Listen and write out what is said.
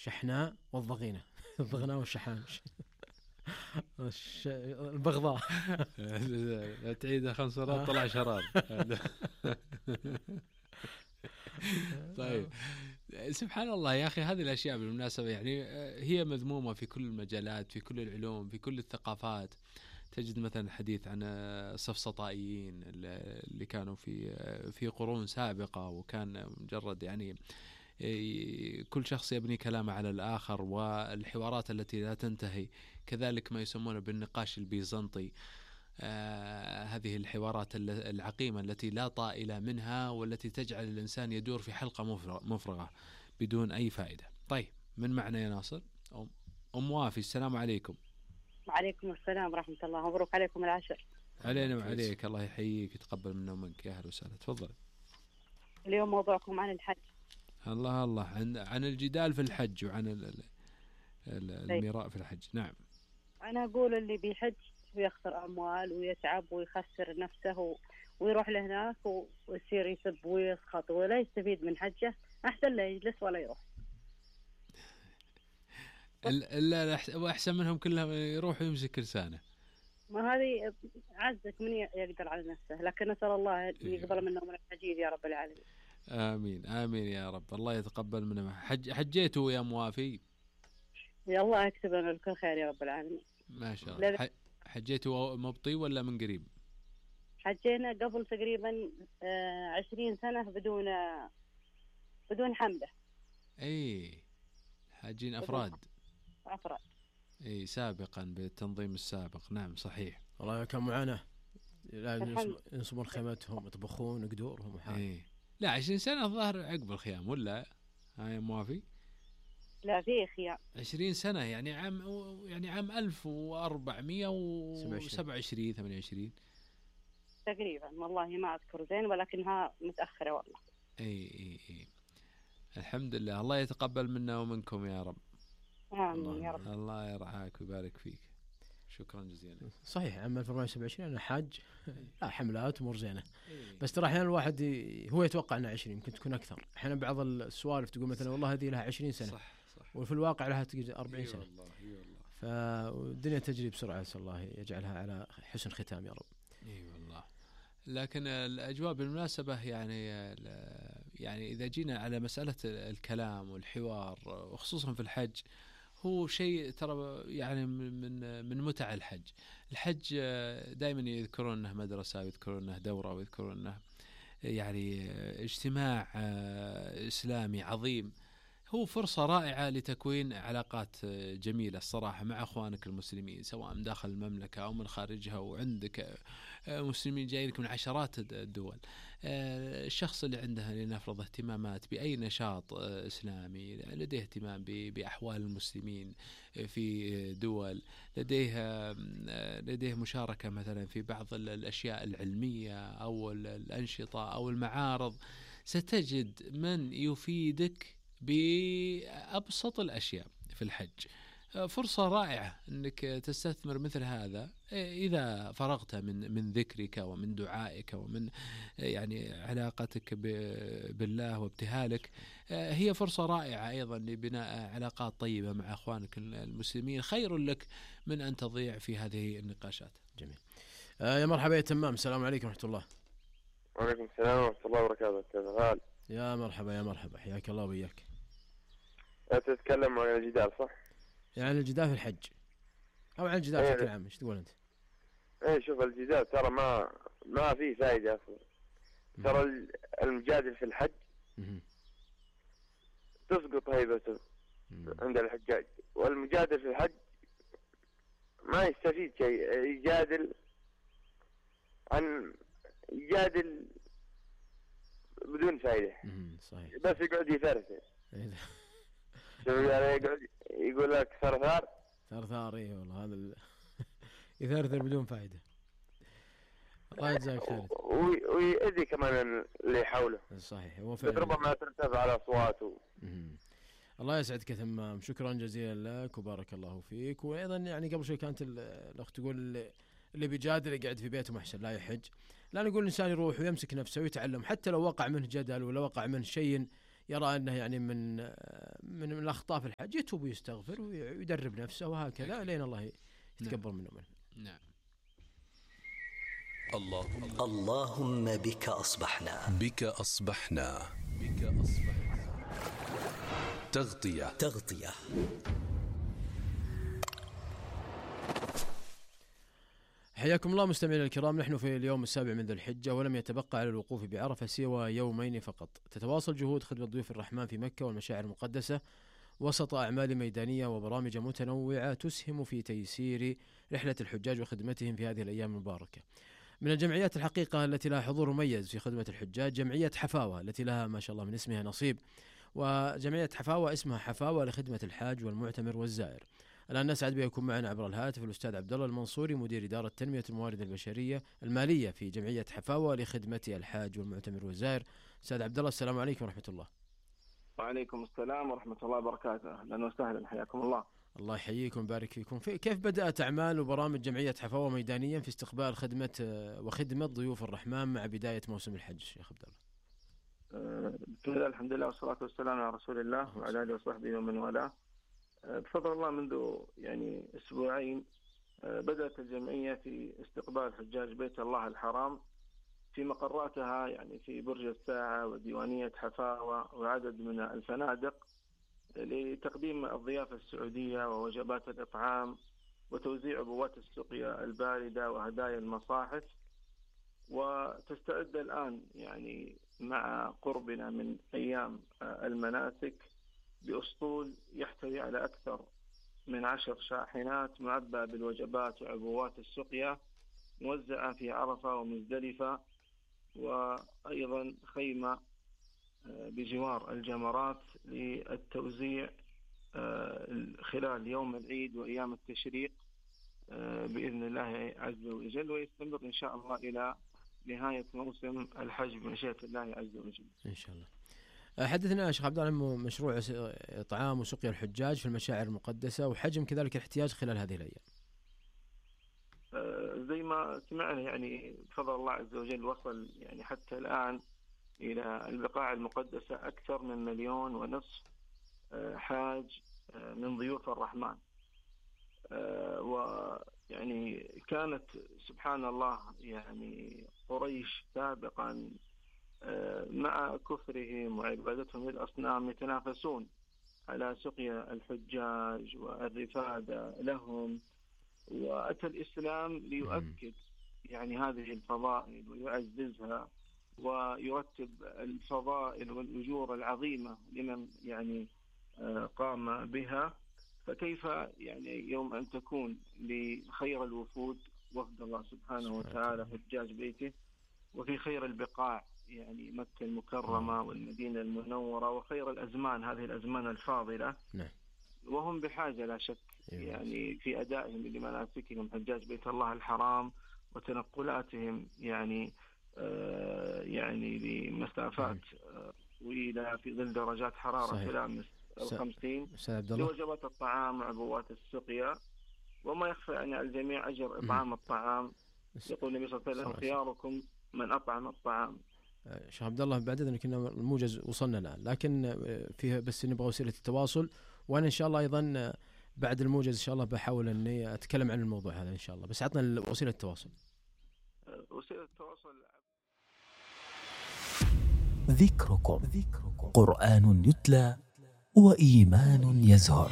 الشحناء والضغينة. الضغناء والشحان. البغضاء. لا تعيدها 5 مرات طلع شرار. طيب سبحان الله يا أخي، هذه الأشياء بالمناسبة يعني هي مذمومة في كل المجالات، في كل العلوم، في كل الثقافات. تجد مثلا الحديث عن السفسطائيين اللي كانوا في قرون سابقة، وكان مجرد يعني كل شخص يبني كلامه على الآخر، والحوارات التي لا تنتهي. كذلك ما يسمونه بالنقاش البيزنطي، هذه الحوارات العقيمة التي لا طائل منها، والتي تجعل الإنسان يدور في حلقة مفرغة بدون أي فائدة. طيب من معنا يا ناصر؟ أم وافي، السلام عليكم. وعليكم السلام ورحمة الله، مبروك عليكم العشر. علينا وعليك، الله يحييك يتقبل منا ومنك، يا أهلا وسهلا، تفضل. اليوم موضوعكم عن الحج. الله عن الجدال في الحج وعن الميراء في الحج. نعم. أنا أقول اللي بيحج ويخسر أموال ويتعب ويخسر نفسه ويروح لهناك ويصير يسب ويسخط ولا يستفيد من حجه، أحسن لا يجلس ولا يروح. لا وأحسن منهم كلهم يروح ويمسك لسانه. ما هذه عزك من يقدر على نفسه، لكن نسأل الله يقبل منا من الحجيج يا رب العالمين. آمين آمين يا رب، الله يتقبل منا. حجيتوا يا موافي؟ يا الله يكتب لنا الكل خير يا رب العالمين. ما شاء الله. حجيتوا مبطي ولا من قريب؟ حجينا قبل تقريبا 20 سنة بدون حملة. اي حاجين أفراد. اي سابقا بالتنظيم السابق. نعم صحيح. والله كان معاناة، ينصبون خيمتهم، يطبخون قدورهم وحاجة. اي لا 20 سنة الظاهر عقب الخيام ولا هاي موافي؟ لا في خيام 20 سنة يعني عام 1427 28 تقريبا، والله ما أذكر زين ولكنها متأخرة والله. اي الحمد لله، الله يتقبل منا ومنكم يا رب. آمين يا رب. الله يرعاك ويبارك فيك، شكرا جزيلا. صحيح عام 1427 أنا حاج، لا حملات أمور زينة. بس ترى أحيانا الواحد هو يتوقع أنها 20، يمكن تكون أكثر. أحيانا بعض السوالف تقول مثلا والله هذه لها 20 سنة، صح. وفي الواقع لها 40 سنة. والله. فالدنيا تجري بسرعة، نسأل الله يجعلها على حسن ختام يا رب. والله. لكن الأجواء بالمناسبة يعني إذا جينا على مسألة الكلام والحوار وخصوصا في الحج، هو شيء ترى يعني من متع الحج دائما يذكرون أنه مدرسة، ويذكرون أنه دورة، ويذكرون أنه يعني اجتماع إسلامي عظيم. هو فرصة رائعة لتكوين علاقات جميلة الصراحة مع أخوانك المسلمين، سواء داخل المملكة أو من خارجها، وعندك مسلمين جايلك من عشرات الدول. الشخص اللي عنده لنفرض اهتمامات بأي نشاط إسلامي، لديه اهتمام بأحوال المسلمين في دول، لديه مشاركة مثلا في بعض الأشياء العلمية أو الأنشطة أو المعارض، ستجد من يفيدك بأبسط الأشياء في الحج. فرصة رائعة أنك تستثمر مثل هذا إذا فرغت من ذكرك ومن دعائك ومن يعني علاقتك بالله وابتهالك. هي فرصة رائعة أيضا لبناء علاقات طيبة مع أخوانك المسلمين، خير لك من أن تضيع في هذه النقاشات. جميل. يا مرحبا يا تمام، السلام عليكم ورحمة الله. وعليكم السلام ورحمة الله وبركاته. يا مرحبا حياك الله وياك. تتكلم عن الجدال صح؟ يعني الجدال في الحج أو عن الجدال بشكل عام، ايش تقول أنت؟ شوف الجدال ترى ما فيه فائدة أصلا. ترى المجادل في الحج تسقط هيبته عند الحجاج، والمجادل في الحج ما يستفيد شيء. يجادل بدون فائدة. صحيح. بس يقعد يثرثر. يقول لك ثرثار. اي والله هذا يثرثر بدون فائدة. الله يجزاك خير. ويأذي كمان اللي حوله. صحيح. ربما ترتفع على أصواته. الله يسعدك يا تمام، شكرا جزيلا لك وبارك الله فيك. وأيضا يعني قبل شوي كانت الأخت تقول اللي بيجادل يقعد في بيته محسن لا يحج. لا نقول الإنسان يروح ويمسك نفسه ويتعلم، حتى لو وقع منه جدل ولا وقع منه شيء يرى أنه يعني من الأخطاء في الحج يتوب ويستغفر ويدرب نفسه وهكذا لين الله يتكبر منه. نعم. اللهم بك أصبحنا تغطية. حياكم الله مستمعينا الكرام. نحن في اليوم السابع من ذي الحجة، ولم يتبقى على الوقوف بعرفة سوى يومين فقط. تتواصل جهود خدمة ضيوف الرحمن في مكة والمشاعر المقدسة وسط أعمال ميدانية وبرامج متنوعة تسهم في تيسير رحلة الحجاج وخدمتهم في هذه الأيام المباركة. من الجمعيات الحقيقة التي لها حضور مميز في خدمة الحجاج جمعية حفاوة، التي لها ما شاء الله من اسمها نصيب. وجمعية حفاوة اسمها حفاوة لخدمة الحاج والمعتمر والزائر. الآن نسعد بأن يكون معنا عبر الهاتف الأستاذ عبد الله المنصوري، مدير إدارة تنمية الموارد البشرية المالية في جمعية حفاوة لخدمة الحاج والمعتمر والزائر. أستاذ عبد الله، السلام عليكم ورحمة الله. وعليكم السلام ورحمة الله وبركاته. أهلا وسهلا، حياكم الله. الله يحييكم ويبارك فيكم. كيف بدأت أعمال وبرامج جمعية حفاوة ميدانيا في استقبال وخدمة ضيوف الرحمن مع بداية موسم الحج شيخ عبد الله؟ بسم الله، الحمد لله والصلاة والسلام على رسول الله وعلى آله وصحبه ومن والاه. بفضل الله منذ يعني أسبوعين بدأت الجمعية في استقبال حجاج بيت الله الحرام في مقراتها، يعني في برج الساعة وديوانية حفاوة وعدد من الفنادق، لتقديم الضيافة السعودية ووجبات الإطعام وتوزيع عبوات السقيا الباردة وهدايا المصاحف. وتستعد الآن يعني مع قربنا من أيام المناسك بأسطول يحتوي على أكثر من 10 شاحنات معبأة بالوجبات وعبوات السقيا موزعة في عرفة ومزدلفة، وأيضا خيمة بجوار الجمرات للتوزيع خلال يوم العيد وأيام التشريق بإذن الله عز وجل، ويستمر إن شاء الله إلى نهاية موسم الحج بمشيئة الله عز وجل إن شاء الله. حدثنا شيخ عبد الله عن مشروع إطعام وسقيا الحجاج في المشاعر المقدسة وحجم كذلك الاحتياج خلال هذه الأيام. زي ما سمعنا يعني بفضل الله عز وجل وصل يعني حتى الآن إلى البقاع المقدسة أكثر من 1.5 مليون حاج من ضيوف الرحمن. ويعني كانت سبحان الله يعني قريش سابقا مع كفرهم وعبادتهم للأصنام يتنافسون على سقيا الحجاج والرفادة لهم، وأتى الإسلام ليؤكد يعني هذه الفضائل ويعززها ويرتب الفضائل والأجور العظيمة لمن يعني قام بها. فكيف يعني يوم أن تكون لخير الوفود وفد الله سبحانه وتعالى حجاج بيته، وفي خير البقاع يعني مكة المكرمة والمدينة المنورة وخير الأزمان، هذه الأزمان الفاضلة، وهم بحاجة لا شك يعني في أدائهم لمناسكهم حجاج بيت الله الحرام وتنقلاتهم يعني يعني لمسافات طويلة في ظل درجات حرارة تلامس 50 لوجبات الطعام وعبوات السقيا. وما يخفى أن الجميع أجر إطعام الطعام. يقول النبي صلى الله عليه وسلم: خياركم من أطعم الطعام. شيخ عبد الله بعد إذن كنا الموجز وصلنا الآن، لكن فيها بس نبغى وسيلة التواصل، وأنا إن شاء الله أيضا بعد الموجز إن شاء الله بحاول أني أتكلم عن الموضوع هذا إن شاء الله. بس عطنا وسيلة التواصل. وسيلة التواصل ذكركم قرآن يتلى وإيمان يزهر.